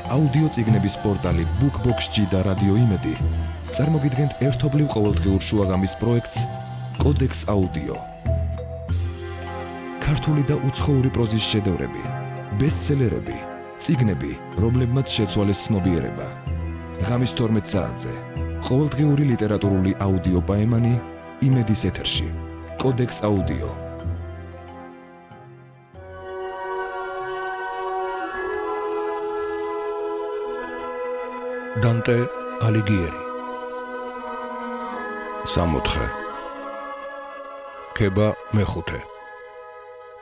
აუდიო წიგნების პორტალი BookBox-G და რადიო იმედი წარმოგიდგენთ ერთობლივ ყოველდღიურ შუაღამის პროექტს კოდექს აუდიო. ქართული და უცხოური პროზის შედევრები, ბესტსელერები, წიგნები, რომლებმაც შეცვალეს ცნობიერება. ღამის 12 საათზე ყოველდღიური ლიტერატურული აუდიო პაემანი იმედის ეთერში. კოდექს აუდიო. დანტე ალიგიერი. სამოთხე. ქება მეხუთე.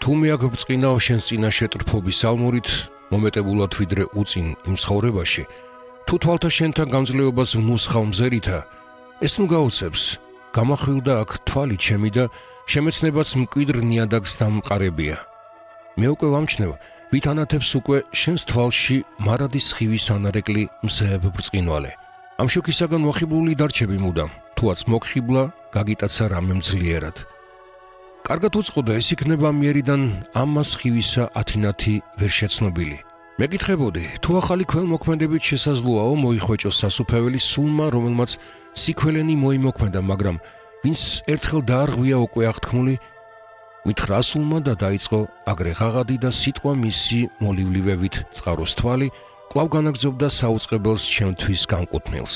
თუ მე აქ ბრწყინავ შენს წინაშე ტრფობის ალმურით, მომეტებულად ვიდრე უწინ იმ ცხოვრებაში, თუ თვალთა შენთან გამძლეობას ვნუსხავ მზერითა, ეს ნუ გაუცებს, გამახვილდა აქ თვალი ჩემი და შემეცნებაც მკვიდრ ნიადაგს დამყარებია. მე უკვე ვამჩნევ, ვით ანათებს უკვე შენს თვალში მარადის ხივის ანარეკლი მზეებ ბრწყინვალე. ამ შოქისაგან მოხიბლული დარჩები მუდამ, თუაც მოგხიბლა, გაგიტაცა რამე მძლიერად. კარგად უწყოდა, ეს იქნება მიერიდან ამას ხივისა ათინათი ვერ შეცნობილი. მეკითხებოდი, თუ ახალი ქველმოქმედებით შესაძლოაო მოიხვეჭოს სასუფეველი სულმა, რომელმაც სიქველენი მოიმოქმედა, მაგრამ ვინც ერთხელ დაარღვია უკვე აღთქმული, მითხრა სულმა და დაიწყო აგრე ღაღადი და სიტყვა მისი მოლივლივებით წყაროს თვალი, კვლავ განაგრძობდა საუწყებელს ჩემთვის განკუთვნილს.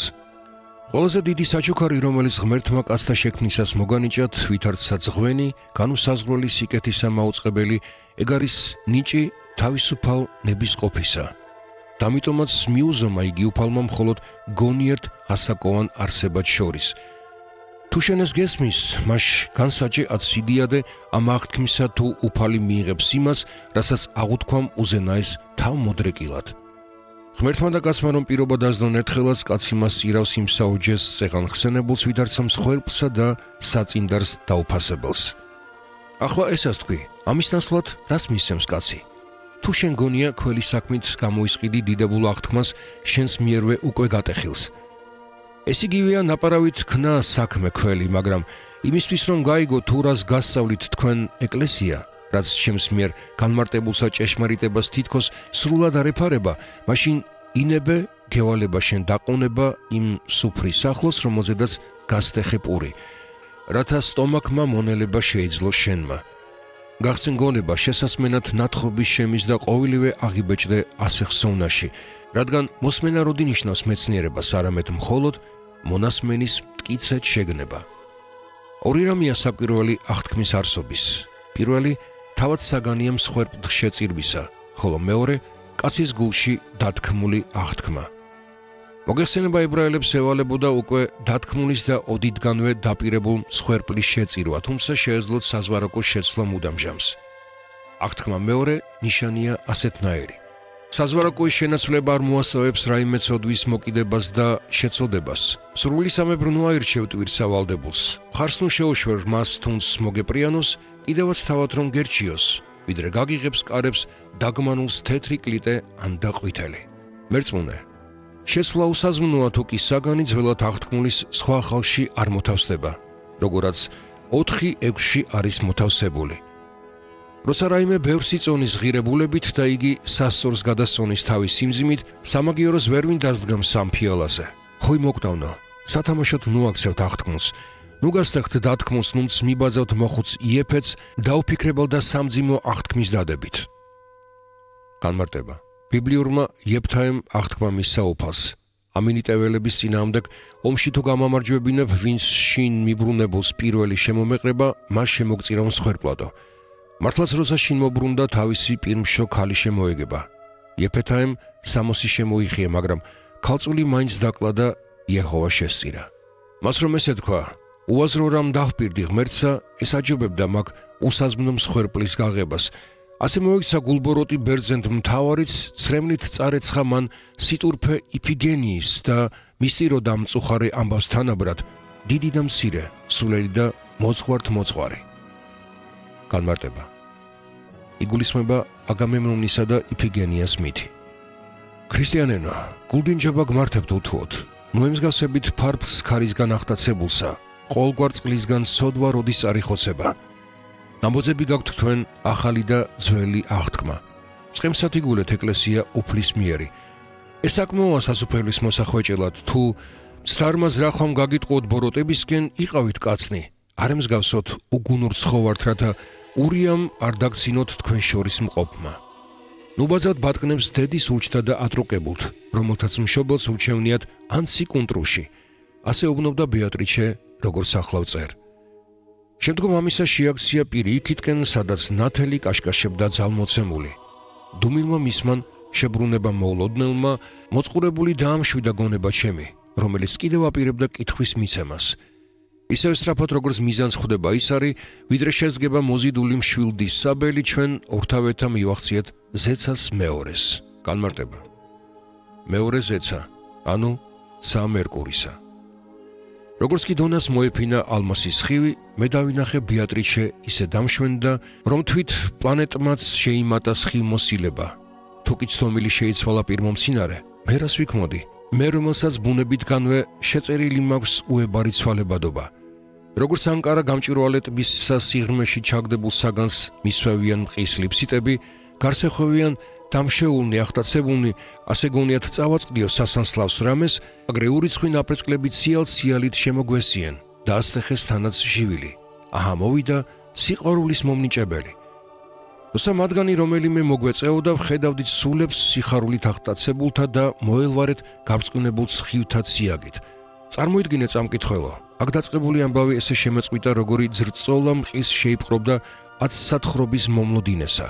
ყველაზე დიდი საჩუქარი, რომელიც ღმერთმა კაცთა შექმნისას მოგანიჭათ, ვითარცა ძღვენი, განუსაზღვრელი სიკეთისა მაუწყებელი, ეგ არის ნიჭი თავისუფალ ნებისყოფისა. დამიტომაც მიუზომა იგი უფალმა მხოლოდ გონიერთ ასაკოვან არსებად შორის. თუ შენ ეს გესმის, მაშ განსაჭე აციდიადე ამ აღთქმისა თუ უფალი მიიღებს იმას, რასაც აღუთქვამ უზენაეს თავმოდრეკილად. ღმერთმა და კაცმა რომ პირობა დაძლონ ერთხელაც, კაცი მას ირავს იმ საუჯეს წეღან ხსენებულს, ვიდარცა მსხვერპლსა და საწინდარს დაუფასებელს. ახლა ესაც თქვი, ამის ნაცვლად რას მისცემს კაცი? თუ შენ გონია ქველი საქმით გამოისყიდი დიდებულ აღთქმას, შენს მიერვე უკვე გატეხილს. ეს იგივეა ნაპარავით ქნა საქმე ქველი, მაგრამ იმისთვის რომ გაიგო თუ რას გასწავლით თქვენ ეკლესია, რაც ჩემს მიერ განმარტებულსა ჭეშმარიტებას თითქოს სრულად არ ეფარება, მაშინ ინებე გევალება შენ დაყუნება იმ სუფრის სახლოს, რომელზედაც გასტეხე პური, რათა სტომაქმა მონელება შეეძლო შენმა. გახსენ გონება შესასმენად ნათხრობის შემის და ყოველივე აღიბეჭდე ასე ხსოვნაში, რადგან მოსმენა როდი ნიშნავს მეცნიერებას, არამედ მხოლოდ მონასმენის მტკიცედ შეგნება. ორი რამეა საკვირველი აღთქმის არსობის. პირველი თავად საგანია მსხვერპლ შეწირვისა, ხოლო მეორე კაცის გულში დათქმული აღთქმა. მოგეხსენება ებრაელებს ევალებოდა უკვე დათქმულის და ოდითგანვე დაპირებულ მსხვერპლის შეწირვა, თუმცა შეეძლოთ საზვარაკოს შეცვლა მუდამჟამს. აღთქმა მეორე ნიშანია ასეთნაირი. საზვარაკოის შენაცვლება არ მოასწავებს რაიმე ცოდვის მოკიდებას და შეწოდებას. სრული სამებრნო აირჩევ ტვირსავალდებულს. მხარს ნუ შეუშვერ მას თუნს მოგეპრიანოს, კიდევაც თავად რომ გერჩიოს, ვიდრე გაგიღებს კარებს დაგმანულს თეთრი კლიტე ან დაყვითელი. მერწმუნე, შეცვლა უსაზმნოა თუ კი საგანი ძველად აღთქმულის სხვა ხალხში არ მოთავსდება, როგორაც 4:6 არის მოთავსებული. როცა რაიმე ბევრს იწონის ღირებულებით და იგი სასწორს გადასწონის თავის სიმძიმით, სამაგიეროს ვერ ვინ დასდგამს სამ ფიალაზე. ხოი მოკდავნო, სათამაშოდ ნუ აქცევთ აღთქმულს, ნუ გასტეხთ დათქმულს, ნუნც მიბაძავთ მოხუც იეფეთს, დაუფიქრებელ და სამძიმო აღთქმის დადებით. განმარტება. ბიბლიურმა იეფთაემ აღთქმა მისცა უფალს. ამინიტეველების წინააღმდეგ ომში თუ გამამარჯვებინებ, ვინც შინ მიბრუნებულს პირველი შემომეყრება, მას შემოგწირავ მსხვერპლადო. მართლაც როცა შინ მობრუნდა, თავისი პირმშო ქალი შემოეგება. იეფთაემ სამოსი შემოიხია, მაგრამ ქალწული მაინც დაკლა და იეჰოვა შესწირა. მას რომ ესე თქვა, უაზრო რამ დავპირდი ღმერთსა, ეს აჯობებდა მაგ უსაზმნო მსხვერპლის გაღებას. ასე მოიქცა გულბოროტი ბერძენთ მთავარიც, ცრემლით წარეცხა მან სიტურფე იფიგენიის და მისწიროდა მწუხარე ამბავს თანაბრად, დიდი და მცირე, სულელი და მოძღვართ-მოძღვარი. განმარტება. იგულისხმება აგამემნონისა და იფიგენიას მითი. ქრისტიანენო, გულდინჯობა გმართებთ უთუოდ, ნუ ემსგავსებით ფარფლს ქარისგან ახტაცებულსა, ყოველგვარ წყლისგან სოდვა როდის არიხოცება. ნამბოძები გაქვთ თქვენ ახალი და ძველი აღთქმა. წყემსად იგულეთ ეკლესია უფლის მიერი. ეს საკმაოა სასუფეველის მოსახვეჭელად, თუ მცდარმას რა ხომ გაგიტყუოთ ბოროტებისკენ, იყავით კაცნი, არ ემსგავსოთ უგუნურ ცხოვართ, რათა ურიამ არ დაგცინოთ თქვენ შორის მყოფმა. ნუბაზად ბატკნებს დედის ურჩთა და ატროკებულთ, რომელთაც მშობელს ურჩევნიათ ან სიკუნტრუში. ასე უბნობდა ბეატრიჩე, როგორც ახლავ წერ. შემდგომ ამისა შეაქცია პირი იქითკენ, სადაც ნათელი კაშკაშებდა ძალმოცემული. დუმილმა მისმან შებრუნება მოულოდნელმა, მოწყურებული დაამშვიდა გონება ჩემი, რომელიც კიდევ აპირებდა კითხვის მიცემას. ისევ სწრაფად როგორც მიზანს ხვდება ის არის, ვიდრე შესდგება მოზიდული მშვილდის საბელი, ჩვენ ორთავეთა მივახციეთ ზეცას მეორეს. განმარტება. მეორე ზეცა, ანუ ცა მერკურისა. როგორც კი დონას მოეფინა ალმასის ხივი, მე დავინახე ბეატრიჩე ისე დამშვენდა, რომ თვით პლანეტმაც შეიმატა სხივმოსილება. თუ კი ცდომილი შეიცვალა პირმომცინარე, მე რას ვიქმოდი? მე რომელსაც ბუნებითგანვე შეწერილი მაქვს უებარი ცვალებადობა. როგორც ანკარა გამჭვირვალე ტბის სიღრმეში ჩაგდებულ საგანს მისვევიან მყის ლიფსიტები, გარსეხვევიან დამშეულნი, ახტაცებულნი, ასე გონიათ წავაწყდიო სასანსლავს რამეს, აგრე ურიცხვი ნაპრეწკლებით სიალ-სიალით შემოგვესიენ და ასტეხეს თანაც ჟივილი. აჰა, მოვიდა სიყვარულის მომნიჭებელი. თორსა მათგანი რომელიმე მოგვეწეოდა, ვხედავდით სულებს სიხარულით ახტაცებულთა და მოელვარეთ გაბრწყინებულ სხივთა ციაგით. წარმოიდგინეთ წამკითხველო, აქ დაწყებული ამბავი ესე შემეწყვიტა, როგორი ძრწოლა მყის შეიპყრობდა 10 სათხრობის მომლოდინესა.